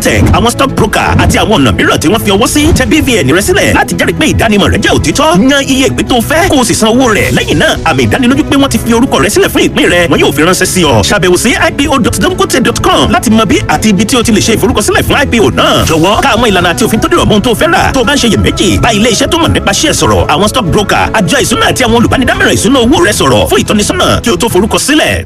fintech, àwọn stock broker àti àwọn ọ̀nà mìíràn tí wọ́n fi ọwọ́ sí. Tẹ BVN rẹ sílẹ̀ láti jẹ́rìí pé ìdánimọ̀ rẹ jẹ́ òtítọ́. Yan iye ìpín tó fẹ́ kó o sì san owó rẹ̀. Lẹ́yìn náà, àmì ìdánilójú pé wọ́n ti fi orúkọ rẹ sílẹ̀ fún ìpín rẹ wọn yóò fi ránṣẹ́ sí ọ. Ṣàbẹ̀wò sí ipo.dangote.com láti mọ bí àti ibi tí o ti lè ṣe ìforúkọsílẹ̀ fún IPO náà. Jọ̀wọ́ ká àwọn ìlànà àti òfin tó dìrọ̀ mọ́ ohun tó fẹ́ rà. Tó o bá ń ṣe iyèméjì, bá ilé iṣẹ́ tó mọ̀ nípa ṣíẹ̀ sọ̀rọ̀, àwọn stock broker, àjọ ìṣúná àti àwọn olùbánidámọ̀ràn ìṣúná owó rẹ sọ̀rọ̀ fún ìtọ́nisọ́nà kí o tó forúkọ sílẹ̀.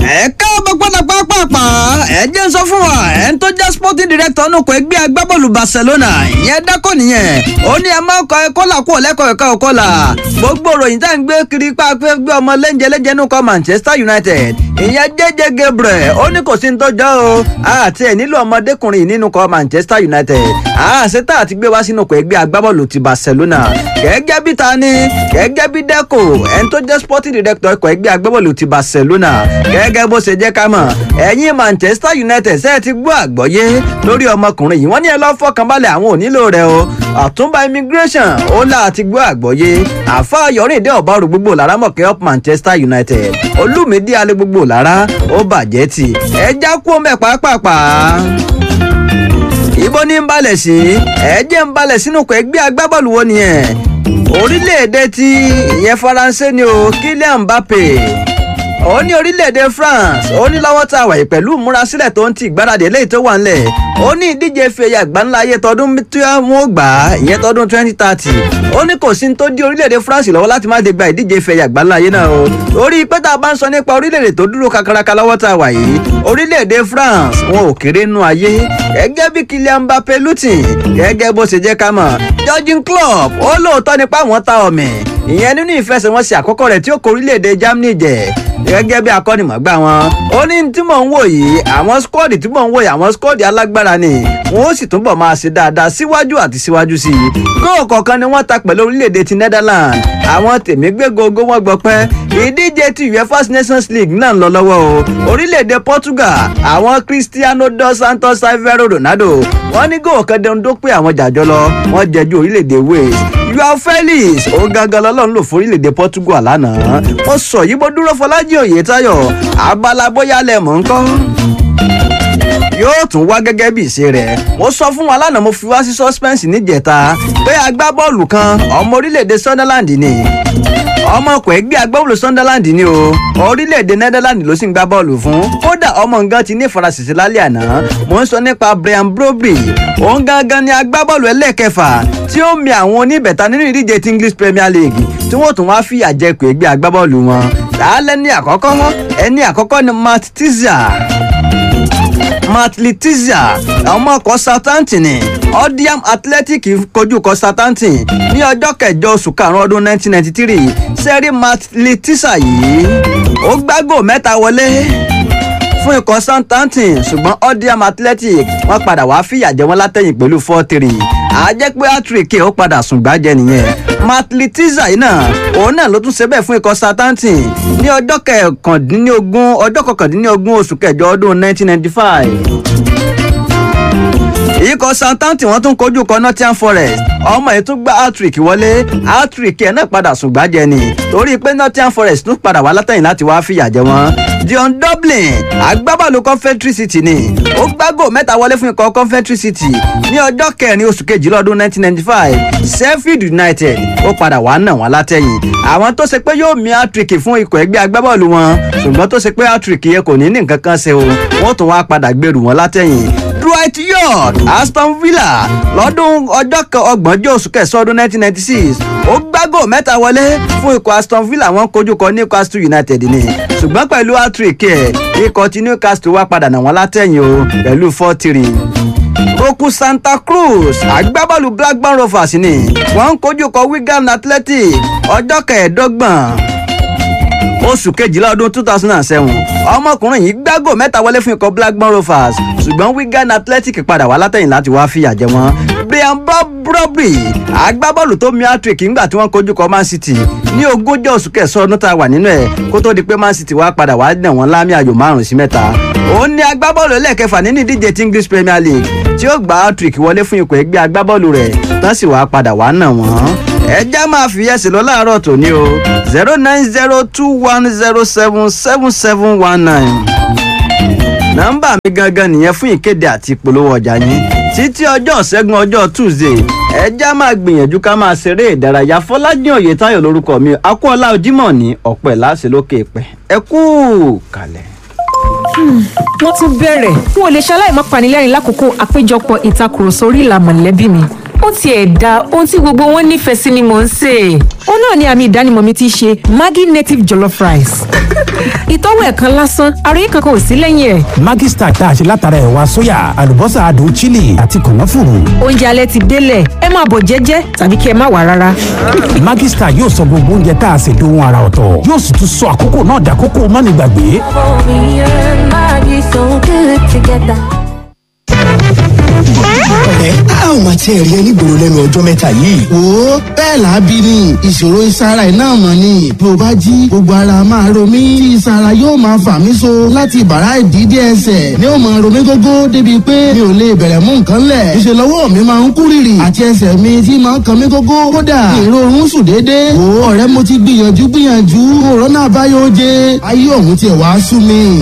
Ẹ káàbọ̀ padà pápápá. Ẹ jẹ́ ń sọ fún wa, ẹ̀ ń tó jẹ́ sporting director nù kó ẹgbẹ́ agbábọ́ọ̀lù Barcelona, ìyẹn dákọ̀ nìyẹn. Ó ní ẹ máa kọ ẹkọ́là kú ọ̀lẹ́kọ̀ọ́ ẹ̀ka ọ̀kọ́là. Gbogbo ròyìn tá à ń gbé kiri pa pé gbé ọmọ lẹ́ńjẹ lẹ́ńjẹ nù kọ́ Manchester United, ìyẹn jẹ́jẹ́ Gabriel, ó ní kò sí ní tọ́jọ́ o, àti ẹ̀ nílò ọmọdékùnrin nínú kọ́ Manchester United, àṣetá àti gbé wá sínú kọ́ ẹgbẹ́ agbábọ́ọ̀lù ti Barcelona. Gẹ́gẹ́ bí ta ni, gẹ́gẹ́ bí Deco, ẹni tó jẹ́ sporting director ikọ̀ ẹgbẹ́ agbábọ́ọ̀lù ti Barcelona, gẹ́gẹ́ bó ṣe jẹ́ ká mọ̀, ẹ̀yin Manchester United ṣe ti gbọ́ àgbọ́yé lórí ọmọkùnrin yìí, wọ́n ní ẹ lọ́ fọkànbalẹ̀, àwọn ò nílò rẹ̀ o. Àtúnbà immigration ó là ti gbọ́ àgbọ́yé. Àfa Yọ̀rìndé Ọ̀bárù gbogbo lára mọ̀kẹ́ up Manchester United, Olúmídé alẹ́ gbogbo lára ó bàjẹ́ tì. Ẹ já kú ọmọ ẹ̀ pàápàá. Ibo ní ń balẹ̀ sí? Ẹ jẹ́ ń balẹ̀ sínú kọ ẹgbẹ́ agbábọ́ọ̀lù wo nìyẹn? Orílẹ̀-èdè ti ìyẹn Faransé ni o, Kylian Mbappe. Ó ní orílẹ̀-èdè France, ó ní lọ́wọ́ tá a wà yìí, pẹ̀lú ìmúrasílẹ̀ tó ń ti ìgbáradì eléyìí tó wà ńlẹ̀, ó ní ìdíje ife ẹ̀yẹ àgbáńlá ayé tọdún tí wọ́n gbà á, ìyẹn tọdún 2030, ó ní kò sí ní tó dí orílẹ̀-èdè France lọ́wọ́ láti má lè gba ìdíje ife ẹ̀yẹ àgbáńlá ayé náà o, orí pé tá a bá ń sọ nípa orílẹ̀-èdè tó dúró kakaraka lọ́wọ́ tá a wà yìí, orílẹ̀-èdè France wọn ò kéré nú ayé. Gẹ́gẹ́ bí Kylian Mbappe Lutin, gẹ́gẹ́ bó ṣe jẹ́ ká mọ̀, Jurgen Klopp ó lóòótọ́ nípa àwọn ta ọ̀mì ìyẹn nínú ìfẹsẹ̀wọnsẹ̀ àkọ́kọ́ rẹ̀ tí ó kọ orílẹ̀-èdè Germany jẹ. Gẹ́gẹ́ bí akọ́nimọ̀gbá wọn, ó ní tí mò ń wò yìí, àwọn skọ́ọ̀dì tí mò ń wò yìí, àwọn skọ́ọ̀dì alágbára ni, wọn ó sì túbọ̀ máa ṣe dáadáa síwájú àti síwájú sí i. Góò kọ̀ọ̀kan ni wọ́n ta pẹ̀lú orílẹ̀-èdè ti Netherlands. Àwọn tèmi gbé gogo wọn gbọpẹ́. Ìdíje ti UEFA Nations League náà ń lọ lọ́wọ́ o. Orílẹ̀-èdè Portugal, àwọn Cristiano dos Santos Alvaro Ronaldo, wọ́n ní góò kan dẹnu tó pé àwọn jàjọ lọ, wọ́n jẹjú orílẹ̀-èdè Wales. Joao Felix ó gangan lọ́lọ́run lò fún orílẹ̀-èdè Portugal lánàá. Ó sọ yìí bó dúró. Fọlájì Oyètáyọ̀, abala bóyá lẹ̀ mọ̀ ń kọ́ yóò tún wá gẹ́gẹ́ bí ìṣe rẹ̀. Mo sọ fún wa lánàá, mo fi wá sí suspense níjẹta pé agbábọ́ọ̀lù kan, ọmọ orílẹ̀-èdè Sunderland ni, ọmọ ọkọ̀ ẹgbẹ́ agbábọ́ọ̀lù Sunderland ni o, orílẹ̀-èdè Netherlands ló sì ń gbá bọ́ọ̀lù fún. Kódà ọmọ nǹkan ti ní ìfarasìsì lálẹ́ àná. Mo ń sọ nípa Brian Brobbey. Òun gangan ni agbábọ́ọ̀lù ẹlẹ́ẹ̀kẹfà tí ó mi àwọn oníbẹ̀ta nínú ìdíje ti English Premier League tí wọ́n tún wá fìyà jẹ pé ẹgbẹ́ agbábọ́ọ̀lù wọn. Làálẹ́ ní àkọ́kọ́, ẹni àkọ́kọ́ ni Matt Tizia, Matt Letizia, ọmọ ọkọ̀ Southampton ni. Odiam Athletic kojú kọ Southampton ní ọjọ́ kẹjọ oṣù karùn-ún ọdún 1993. Sẹ́rí Matt Letizia yìí, ó gbágò mẹ́ta wọlé fún ikọ̀ Southampton, ṣùgbọ́n Odiam Athletic wọ́n padà wá fìyà jẹ wọ́n látẹ̀yìn pẹ̀lú 4-3. Àjẹ́ pé hat-trick ó padà sùn gbájẹ nìyẹn. Matt Letizia yìí náà, òun náà ló tún ṣe bẹ́ẹ̀ fún ikọ̀ Southampton ní ọjọ́ 19 oṣù kẹjọ ọdún 1995. Ikọ̀ Southampton wọ́n tún kojú kọ Nottingham Forest. Ọmọ yìí tún gbá hat-trick wọlé. Hat-trick ẹ̀ náà padà sùn gbájẹ ni, torí pé Nottingham Forest tún padà wá látẹ̀yìn láti wá fìyà jẹ wọ́n. Dion Dublin, agbábọ́ọ̀lù Coventry City ni, ó gbágò mẹ́ta wọlé fún ikọ̀ Coventry City ní ọjọ́ kẹrin oṣù kejìlá ọdún 1995. Sheffield United ó padà wá nà wọ́n látẹ̀yìn. Àwọn tó ṣe pé yóò mi hat-trick fún ikọ̀ ẹgbẹ́ agbábọ́ọ̀lù wọn, ṣùgbọ́n tó ṣe pé hat-trick yẹn kò ní ní nǹkan kan ṣe o, wọ́n tún wá padà gbèrú wọn látẹ̀yìn. Dwight York, Aston Villa, lọ́dún ọjọ́ ọgbọ̀njọ́ oṣù kẹsàn-án ọdún 1996, ó gbágò mẹ́ta wọlé fún ikọ̀ Aston Villa. Wọ́n kojú kọ Newcastle United ni, ṣùgbọ́n pẹ̀lú hat-trick ẹ̀, ikọ̀ ti Newcastle wá padà nà wọ́n látẹ̀yìn o pẹ̀lú 4-3. Roku Santa Cruz, agbábọ́ọ̀lù Blackburn Rovers ni, wọ́n ń kojú kọ Wigan Athletic ọjọ́ 25 oṣù kejìlá ọdún 2007. Ọmọkùnrin yìí gbágò mẹ́ta wọlé fún ikọ̀ Blackburn Rovers, ṣùgbọ́n Wigan Athletic padà wá látẹ̀yìn láti wá fìyà jẹ wọ́n. Brian Brobbey, agbábọ́ọ̀lù tó mi hat-trick ńgbà tí wọ́n kojú kọ Man City ní ogúnjọ́ oṣù kẹsàn-án ọdún tá a wà nínú ẹ̀, kó tó di pé Man City wá padà wá nà wọ́n lámì ayò 5-3. Òun ni agbábọ́ọ̀lù ẹlẹ́ẹ̀kẹfà nínú ìdíje ti English Premier League tí ó gba hat-trick wọlé fún ikọ̀ ẹgbẹ́ agbábọ́ọ̀lù rẹ̀ tán sì wá padà wá nà wọ́n. Ẹ já máa fi ẹsẹ̀ lọ láàárọ̀ tòní o, 09021077719. Nọ́mbà mi gangan nìyẹn fún ìkéde àti ìpolówó ọjà yín. Títí ọjọ́ Ṣẹ́gun, ọjọ́ Tuesday, ẹ já máa gbìyànjú ká máa ṣeré ìdárayá. Fọlájìn Oyètáyọ̀ lórúkọ mi, Akọ́ọ̀lá Ojímọ̀ ní ọ̀pẹ̀ láṣẹ lókè ìpẹ́. Ẹ kú kalẹ̀. Wọ́n tún bẹ̀rẹ̀. N ò lè ṣaláì má panilẹ́rìn lákòókò àpéjọpọ̀ ìtakùrọ̀sọ orí ìlà mọ̀lẹ́bí mi. Ó tiẹ̀ da ohun tí gbogbo wọn nífẹ̀ẹ́ sí ni mò ń sè é. Ó náà ni àmì ìdánimọ̀ mi ti ṣe Maggi native jollof rice. Ìtọ́wò ẹ̀kan lásán, àròyé kankan ò sí lẹ́yìn ẹ̀. Maggi Star tá a ṣe látara ẹ̀wà sóyà, àlùbọ́sà adùn chili àti kànáfùrù. Oúnjẹ alẹ́ ti délẹ̀, ẹ máa bọ̀ jẹ́jẹ́ tàbí kí ẹ má wà rárá. Maggi Star yóò sọ gbogbo oúnjẹ tá a ṣe dohun ara ọ̀tọ̀, yóò sì tún sọ àkókò náà dàkókò mọ́nìgbàgbé. Me and Maggie so good together. Ọ̀rẹ́, a ò máa tiẹ̀ rí ẹ nígboro lẹ́nu ọjọ́ mẹ́ta yìí. Wo, bẹ́ẹ̀ là á bí ni. Ìṣòro ìsara iná mọ̀ ni. Bí o bá jí, gbogbo ara máa ro mí tí ìsara yóò máa fà mí so láti ìbàrá ìdídé ẹsẹ̀ ni ó máa ro mí gógó, débi pé mi ò lè bẹ̀rẹ̀ mú nǹkan lẹ̀. Ìṣe lọ́wọ́ mi máa ń kú rìrì àti ẹsẹ̀ mi tí máa ń kan mí gógó. Kódà ìrorun sùn déédéé. Wo ọ̀rẹ́, mo ti gbìyànjú gbìyànjú, òrónà àbáyọ oje ayé òun tiẹ̀ wá sú mi.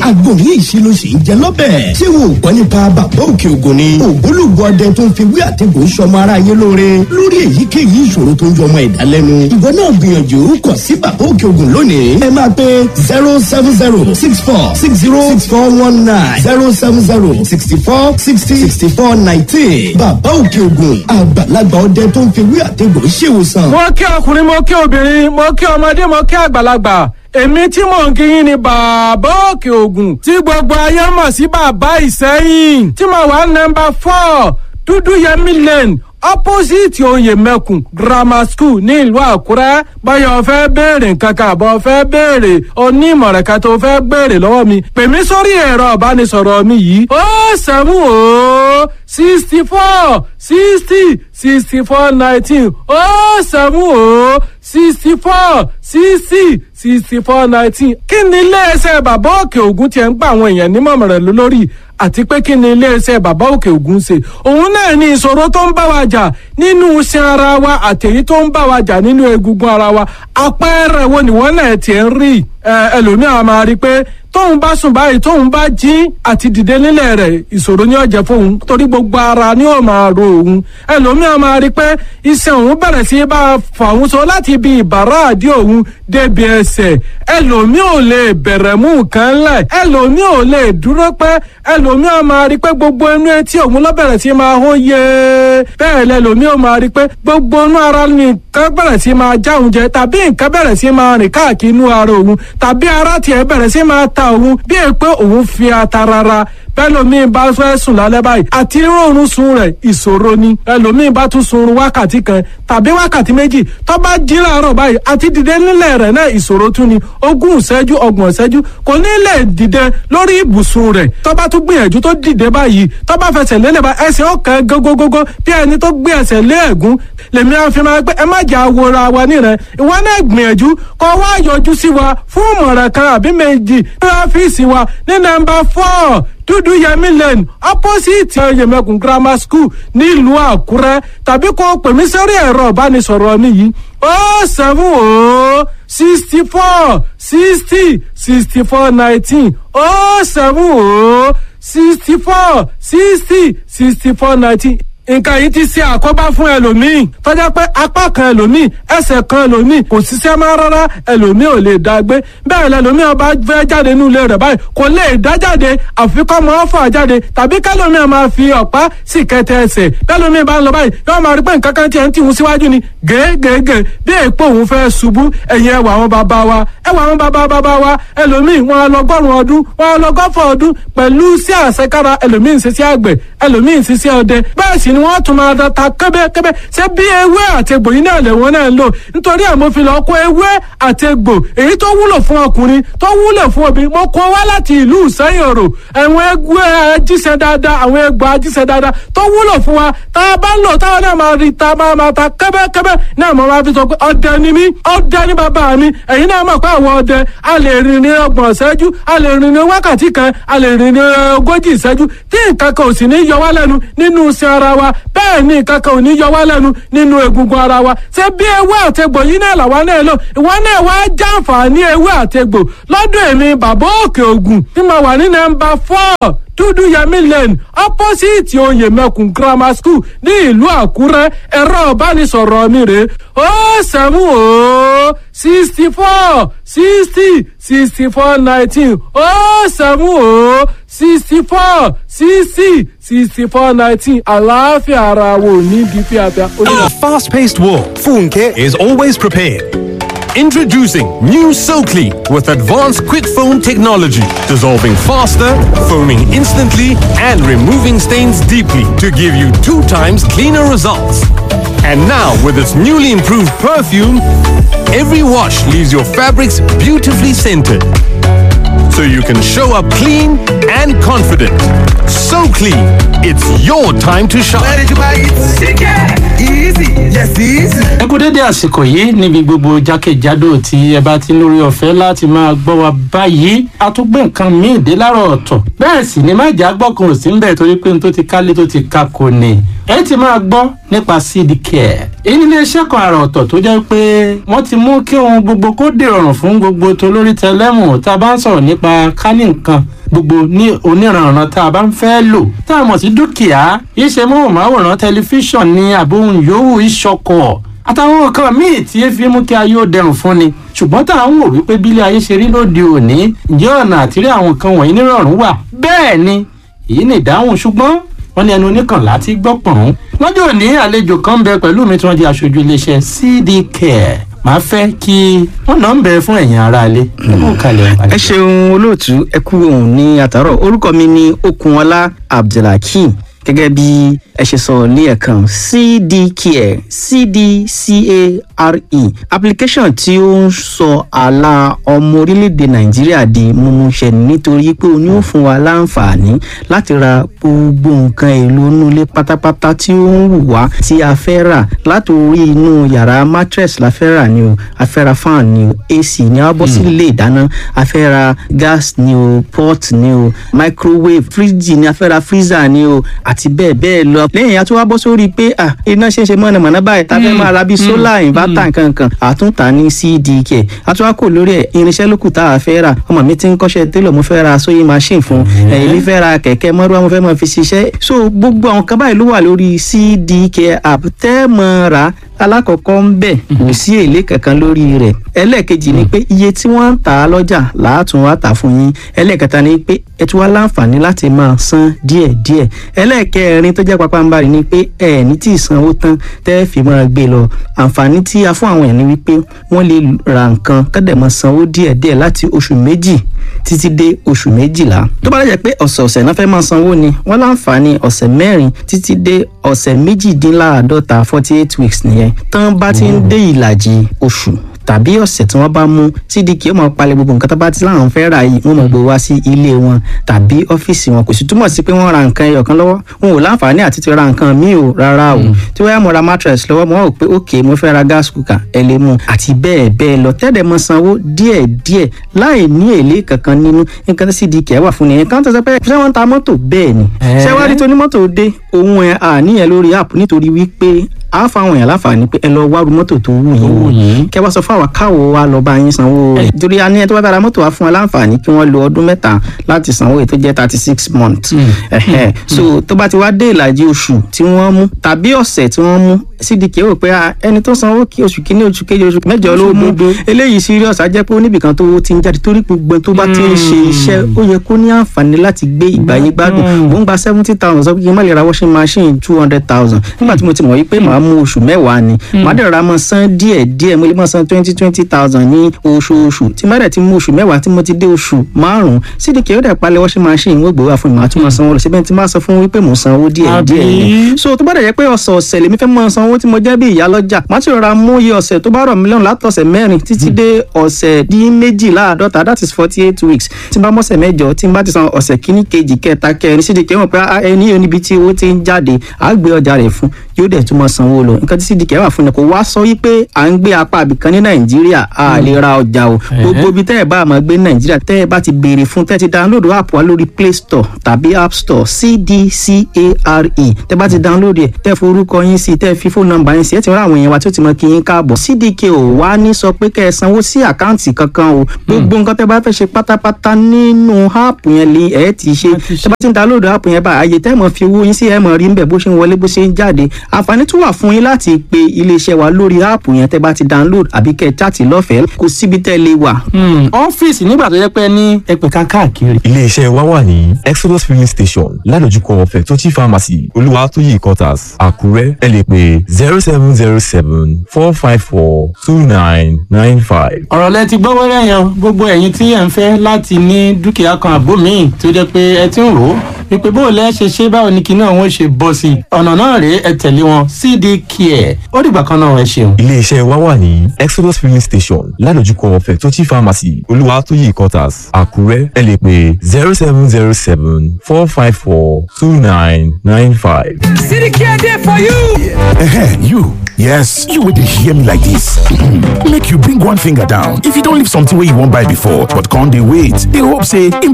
Àgbo yìí ṣe ló ṣe ń jẹ lọ́bẹ̀. Ṣé wo ò gbọ́ nípa Bàbá Òkè Ògùn ni? Ògbólógbò ọdẹ tó ń fi wí àtẹ̀gùn sọmọ ara yín lóore lórí èyíkéyìí ìṣòro tó ń jọmọ ẹ̀dá lẹ́nu. Ìwọ náà gbìyànjú kàn sí Bàbá Òkè Ògùn lónìí. Ẹ máa pe 07064606419, 07064606419. Bàbá Òkè Ògùn, àgbàlagbà ọdẹ tó ń fi wí àtẹ̀gùn ṣèwòsàn. Mo kí ọkùnrin, mo kí obìnrin, mo kí ọmọdé, mo kí àgbàlagbà. Èmi tí mò ń kíyìn ni Bàbá Òkè Ògùn, tí gbogbo ayé mọ̀ sí Bàbá Ìsẹ́yìn, tí mo wà nọ́mbà 4 Dúdú Yẹmí Lane, opposite Oyè Mẹ́kùn Grammar School ní ìlú Àkúrẹ́. Báyọ̀ fẹ́ béèrè nǹkan kan àbọ̀ fẹ́ béèrè onímọ̀ràn kan tó fẹ́ béèrè lọ́wọ́ mi, pè mí sórí ẹ̀rọ ìbánisọ̀rọ̀ mi yìí: 070 64 60 64 19, 070 64 60 64 19. Kí ni iléeṣẹ́ Bàbá Òkè Ògùn tiẹ̀ ń gba àwọn èèyàn nímọ̀ràn lórí, àti pé kí ni iléeṣẹ́ Bàbá Òkè Ògùn ṣe? Òun náà ni ìṣòro tó ń bá wa jà nínú iṣan ara wa àtèyí tó ń bá wa jà nínú egungun ara wa. Àpẹẹrẹ wo ni wọ́n náà tiẹ̀ ń rí? Ẹlòmíràn máa rí i pé tóun bá sùn báyìí, tóun bá jí, àti dìde nílẹ̀ rẹ̀ ìṣòro ni ó jẹ́ fóun, torí gbogbo ara ni ó máa ro òun. Ẹlòmíràn máa rí i pé iṣan òun bẹ̀rẹ̀ sí í bá fà òun so láti ibi ìbàrá àdí òun débi ẹsẹ̀. Ẹlòmíì ò lè bẹ̀rẹ̀ mú nǹkan lẹ̀, ẹlòmíì ò lè dúró pẹ́. Ẹlòmíì máa rí i pé gbogbo inú etí òun ló bẹ̀rẹ̀ sí máa hó yé. Bẹ́ẹ̀ lẹlòmíì ò máa rí i pé gbogbo inú ara ni nǹkan bẹ̀rẹ̀ sí máa já òun jẹ, tàbí nǹkan bẹ̀rẹ̀ sí máa rìn káàkiri inú ara òun, tàbí ara tiẹ̀ bẹ̀rẹ̀ sí máa ta òun bí è pé òun fi ata rárá. Bẹ́lòmíì bá fẹ́ sùn lálẹ́ báyìí, àti rọrùn sun rẹ̀ ìṣòro ni. Ẹlòmíì bá tún sunrun wákàtí kan tàbí wákàtí méjì, tó bá jí láàárọ̀ báyìí, àti dìde nílẹ̀ rẹ̀ náà ìṣòro tún ni. 20 ìṣẹ́jú, 30 ìṣẹ́jú, kò ní lè dìde lórí ibùsùn rẹ̀. Tó bá tún gbìyànjú tó dìde báyìí, tó bá fẹsẹ̀ lélẹ̀ bá, ẹsẹ̀ ọ̀kan gógógógó bí ẹni tó gbé ẹsẹ̀ lé ẹ̀gún. Lèmi á fi máa pé ẹ má jà wòra wa nírẹ̀. Ìwọ náà gbìyànjú kó wá yọjú sí wa fún ìmọ̀ràn kan àbí méjì ní ọ́fíìsì wa ní nọ́mbà 4 Dúdú Yẹmí Lane, opposite Yẹmẹkùn Grammar School nílùú Àkúrẹ́, tàbí kó pè mí sórí ẹ̀rọ ìbánisọ̀rọ̀ mi yìí: 070 64 60 64 19, 070 64 60 64 19. Nǹkan yìí ti ṣe àkóbá fún ẹlòmíì tọ́jà pé apá kan ẹlòmíì, ẹsẹ̀ kan ẹlòmíì kò ṣiṣẹ́ mọ́ rárá. Ẹlòmíì ò lè dá gbé bẹ́ẹ̀. Lẹlòmíì ọba fẹ́ jáde nínú ilé rẹ̀ báyìí, kò lè dá jáde, àfi kọ́ mọ́ fà jáde, tàbí kẹlòmíì máa fi ọ̀pá sì kẹtẹ ẹsẹ̀. Bẹ́lòmíì bá ń lọ báyìí, yóò máa rí pé nǹkan kan tiẹ̀ ń tìhun síwájú ni gègègè, bí èèpo òun fẹ́ ṣubú. Ẹ̀yìn ẹwà àwọn bàbá wa, ẹwà àwọn bàbá bàbá wa, ẹlòmíì wọn lọgọ́rùn ọdún, wọn lọgọ́fọ̀ ọdún pẹ̀lú sí àṣekára. Ẹlòmíì ń ṣiṣẹ́ àgbẹ̀, ẹlòmíì ń ṣiṣẹ́ ọdẹ, bẹ́ẹ̀ sì ni wọ́n tún máa ta kẹ́bẹ́kẹ́bẹ́. Ṣé bí ewé àti egbò yìí náà lẹ̀wọ̀n náà ń lò? Nítorí ẹ̀ mo fi lọ kó ewé àti egbò èyí tó wúlò fún ọkùnrin, tó wúlò fún obìnrin, mo kó wá láti ìlú Ìsẹ́yìn Òrò. Àwọn egbò ajíṣẹ́ dáadáa, àwọn egbò ajíṣẹ́ dáadáa tó wúlò fún wa, tá a bá ń lò táwọn náà máa rí ta máa máa ta kẹ́bẹ́kẹ́bẹ́ náà. Mo máa fi sọ pé ọdẹ ni mí, ọdẹ ni bàbá mi. Ẹ̀yin náà mọ̀ pé àwọn ọdẹ a lè rìn ní 30 ìṣẹ́jú, a lè rìn ní wákàtí kan, a lè rìn ní 40 ìṣẹ́jú, tí nǹkan kan ò sì ní yọ wá lẹ́nu nínú iṣẹ́ ara wa. wa. Bẹ́ẹ̀ ni nǹkan kan ò ní yọ wá lẹ́nu nínú egungun ara wa. Ṣé bí ewé àtegbò yìí náà làwa náà lò, ìwọ náà wá jàǹfààní ewé àtegbò lọ́dọ̀ èmi Bàbá Òkè Ògùn tí mo wà ní nọ́mbà 4 Dúdú Yẹmí Lane, opposite Oyè Mẹkùn Grammar School ní ìlú Àkúrẹ́. Ẹ̀rọ ìbánisọ̀rọ̀ mi rè 070 64 60 64 19, 070 64 60 64 19. Àlàáfíà ara wo ní di fíafíà. In a fast-paced world, Funke is always prepared. Introducing new SoClean with advanced quick foam technology, dissolving faster, foaming instantly, and removing stains deeply to give you 2 times cleaner results. And now, with its newly improved perfume, every wash leaves your fabrics beautifully scented. So you can show up clean and confident. So clean, it's your time to shine. Ẹ kú dédé àsìkò yìí níbi gbogbo jákèjádò tí ẹ bá ti ń lórí ọ̀fẹ́ láti máa gbọ́ wa báyìí. A tún gbé nǹkan míì dé láàárọ̀ ọ̀tọ̀, bẹ́ẹ̀ sì ni májà gbọ́kàn ò sí ń bẹ̀ torí pé n tó ti kálé tó ti ka kò ní. Ẹ ti máa gbọ́ nípa Seed Care. Èyí ní iléeṣẹ́ kan àrà ọ̀tọ̀ tó jẹ́ pé wọ́n ti mú kí ohun gbogbo kó dìrọ̀rùn fún gbogbo tolórí tẹlẹ́mù tá a bá ń sọ̀rọ̀ nípa kání nǹkan gbogbo ní oníranran tá a bá ń fẹ́ lò tá a mọ̀ sí dúkìá, iṣẹ́ móhùnmáwòrán, tẹlifíṣàn ní àbóhùn yòówù, ìṣọkọ̀ àtàwọn nǹkan míì tí e fi mú kí ayé ó dẹrùn fún ni. Ṣùgbọ́n tá à ń wò wípé bílé ayé ṣe rí lóde òní, ǹjẹ́ ọ̀nà àtìrí àwọn nǹkan wọ̀nyí nírọ̀rùn wà? Bẹ́ẹ̀ ni, èyí ni ìdáhùn. Ṣùgbọ́n wọ́n ní ẹnu oníkànlá ti gbọ́ pọ̀n. Lọ́jọ́ òní, àlejò kan ń bẹ pẹ̀lú mi tí wọ́n jẹ́ aṣojú iléeṣẹ́ CD Care. Màá fẹ́ kí wọ́n náà ń bẹ fún ẹ̀yin aráalé. Ẹ ṣeun olóòtú, ẹ kú òun ní àtàrọ. Orúkọ mi ni Okunọlá Abdulhakeem. Gẹ́gẹ́ bí ẹ ṣe sọ ní ẹ̀kan, CDCare, CDCARE, application tí ó ń sọ àlà ọmọ orílẹ̀-èdè Nàìjíríà di mímúṣẹ, nítorí pé ó ní ó fún wa láǹfààní láti ra gbogbo nǹkan èlò inú ilé pátápátá tí ó ń wù wá tí a fẹ́ rà. Látòrí inú yàrá, mattress la fẹ́ rà ni o, a fẹ́ ra fan ni o, AC ni, a bọ́ sí ilé ìdáná, a fẹ́ ra gas ni o, pot ni o, microwave, fridge ni, a fẹ́ ra freezer ni o, àti bẹ́ẹ̀ bẹ́ẹ̀ lọ. Lẹ́yìn a tún wá bọ́ sórí pé iná ṣe ń ṣe mọ̀nàmọ́ná báyìí, tá a fẹ́ máa ra bíi solar inverter nkankan, àtúntà ní CDK. A tún wá kò lórí ẹ̀, irinṣẹ́ lókù tá a fẹ́ rà. Ọmọ mi ti ń kọ́ṣẹ́ télọ̀, mo fẹ́ ra sewing machine fún ẹ̀yìn, mi fẹ́ ra kẹ̀kẹ́ mọ́rúwá, mo fẹ́ máa fi ṣiṣẹ́. So gbogbo àwọn kan báyìí ló wà lórí CDK app tẹ́ mọ́ ra. Alákọ̀ọ́kọ́ ń bẹ̀, kò sí èlé kankan lórí rẹ̀. Ẹlẹ́ẹ̀kejì ni pé iye tí wọ́n ń tà á lọ́jà làátún wá tà fún yín. Ẹlẹ́ẹ̀kẹta ni pé ẹ tún wá láǹfààní láti máa san díẹ̀díẹ̀. Ẹlẹ́ẹ̀kẹrin tó jẹ́ pàpàǹbarì ni pé ẹ ní tí ìsanwó tán tẹ́ fi máa gbé lọ. Àǹfààní tí a fún àwọn èèyàn ni wípé wọ́n lè ra nǹkan kọ́dẹ̀ máa sanwó díẹ̀díẹ̀ láti oṣù 2 títí dé oṣù 12. Tó bá jẹ́ pé ọ̀sẹ̀ọ̀sẹ̀ náà fẹ́ máa sanwó ni, wọ́n láǹfààní ọ̀sẹ̀ 4 títí dé ọ̀sẹ̀ 48, 48 weeks nìyẹn. Tán bá ti ń dé ìlàjì oṣù tàbí ọ̀sẹ̀ tí wọ́n bá mú, CDK ó máa palẹ̀ gbogbo nǹkan tó bá ti láwọn fẹ́ rà yìí, wọ́n máa gbé wá sí ilé wọn tàbí ọ́fíìsì wọn. Kò sì túmọ̀ sí pé wọ́n ra nǹkan ẹyọ kan lọ́wọ́, wọn ò láǹfààní àti ti ra nǹkan míì o, rárá o. Tí wọ́n yá mo ra mattress lọ́wọ́, mo rò pé ok, mo fẹ́ ra gas cooker, ẹ lè mú, àti bẹ́ẹ̀ bẹ́ẹ̀ lọ, tẹ́lẹ̀ mọ sanwó díẹ̀ díẹ̀ láì ní èlé kankan nínú. Nǹkan tí CDK wà fún nìyẹn. Kan tó sọ pé ṣé wọ́n ń ta mọ́tò? Bẹ́ẹ̀ ni. Ṣé wàá rí tonímọ́tò dé òun ẹ̀ àníyàn lórí app, nítorí wípé a fáwọn èèyàn láǹfààní pé ẹ lọ wárú mọ́tò tó wù yín, kẹ wá sọ fún àwa káwo wa lọ bá yín sanwó rẹ̀, torí a ní ẹ tó bá bára mọ́tò wa fún wa láǹfààní kí wọ́n lo ọdún 3 láti sanwó èyí tó jẹ́ 36 months. So tó bá ti wá dé ìlàjì oṣù tí wọ́n mú tàbí ọ̀sẹ̀ tí wọ́n mú, CDK rò pé ẹni tó sanwó kí oṣù kínní, oṣù kejì, oṣù mẹ́jọ ló mú, eléyìí serious, á jẹ́ pé oníbìkan tó ti ń jáde, torí gbogbo tó bá ti ń ṣe iṣẹ́, ó yẹ kó ní àǹfààní láti gbé ìgbáyé gbádùn. Mò ń gba 70,000, sọ pé kí n má lè ra washing machine 200,000, nígbà tí mo ti mọ̀ wípé màá mú oṣù 10 ni, màá dẹ̀ ra mọ́ san díẹ̀ díẹ̀, mo lè mọ́ san 20,000 ní oṣooṣù. Tí má dẹ̀ ti mú oṣù 10, tí mo ti dé oṣù 5, CDK ó dẹ̀ palẹ̀ washing machine, wọ́n gbé wá fún mi, màá tún máa sanwó lọ síbẹ̀. Tí má sọ fún wípé mò ń sanwó díẹ̀ díẹ̀ ni. So tó bá dẹ̀ jẹ́ pé ọ̀sẹ̀ọ̀sẹ̀ lèmi fẹ́ máa sanwó tí mo jẹ́ bí ìyá lọ́jà, màá ti rọra mú iye ọ̀sẹ̀ tó bá rọ̀ mí lọ́rùn látọ̀sẹ̀ 4 títí dé ọ̀sẹ̀ dín méjìláàdọ́ta, that is 48 weeks. Tí n bá mọ̀sẹ̀ 8, tí n bá ti san ọ̀sẹ̀ kíní, kejì, kẹta, kẹrin, CDK mọ̀ pé ẹni yóò níbi tí owó ti ń jáde, àá gbé ọjà rẹ̀ fún yóò. Yóò dẹ̀ tún mọ́ sanwó lọ. Nǹkan tí CDK wà fún ni kò wá sọ wípé à ń gbé apá àbìkan ní Nàìjíríà a lè ra ọjà o. Gbogbo ibi tẹ́ ẹ bá máa gbé ní Nàìjíríà, tẹ́ ẹ bá ti béèrè fún, tẹ́ ẹ ti download app wa lórí Play Store tàbí App Store, CDCARE, tẹ́ bá ti download ẹ̀, tẹ́ forúkọ yín sí, tẹ́ fi fóònù nọ́mbà yín sí, ẹ ti rán àwọn èèyàn wa tí ó ti mọ kí yín káàbọ̀. CDK ò wá ní sọ pé kẹ́ ẹ sanwó sí àkáǹtì kankan o. Gbogbo nǹkan tẹ́ bá fẹ́ ṣe pátápátá nínú app yẹn lè ẹ ti ṣe. Tẹ́ bá ti ń download app yẹn bá, àyè tẹ́ mọ̀ fi owó yín sí, ẹ mọ̀ rí ń bẹ̀ bó ṣe ń wọlé, bó ṣe ń jáde. Àǹfààní tún wà fún yín láti pe iléeṣẹ́ wa lórí app yẹn tẹ́ bá ti download, àbí kẹ́ ẹ chat lọ́fẹ̀ẹ́. Kò síbi tẹ́ lè wà. Ọ́fíìsì nígbà tó jẹ́ pé ní ẹgbẹ̀ka káàkiri. Iléeṣẹ́ wa wà ní Exodus Filling Station, ládojúkọ Fẹ̀tọ́jì Pharmacy, Olúwatóyè Quarters, Àkúrẹ́. Ẹ lè pè 07074542995. Ọ̀rọ̀ lẹ ti gbọ́ wẹ́rẹ́ yẹn. Gbogbo ẹ̀yin tí ẹ̀ ń fẹ́ láti ní dúkìá kan àbó míì tó jẹ́ pé ẹ ti ń rò ó wípé bó o lẹ́ ṣe ṣe, báwo ni kinní ọ̀hún ṣe bọ́ sí i, ọ̀nà náà rèé, ẹ tẹ̀lé wọn, CD Care. Ó dìgbà kan náà, ẹ ṣeun. Iléeṣẹ́ wa wà ní Exodus Filling Station, ládojúkọ Fẹ̀tọ́jì Pharmacy, Olúwatóyè Quarters, Àkúrẹ́. Ẹ lè pè 07074542995. City Care dey for you. You. Yes, you will hear me like this. Make you bring one finger down if you don't leave something where you won't buy before, but can't they wait? They hope say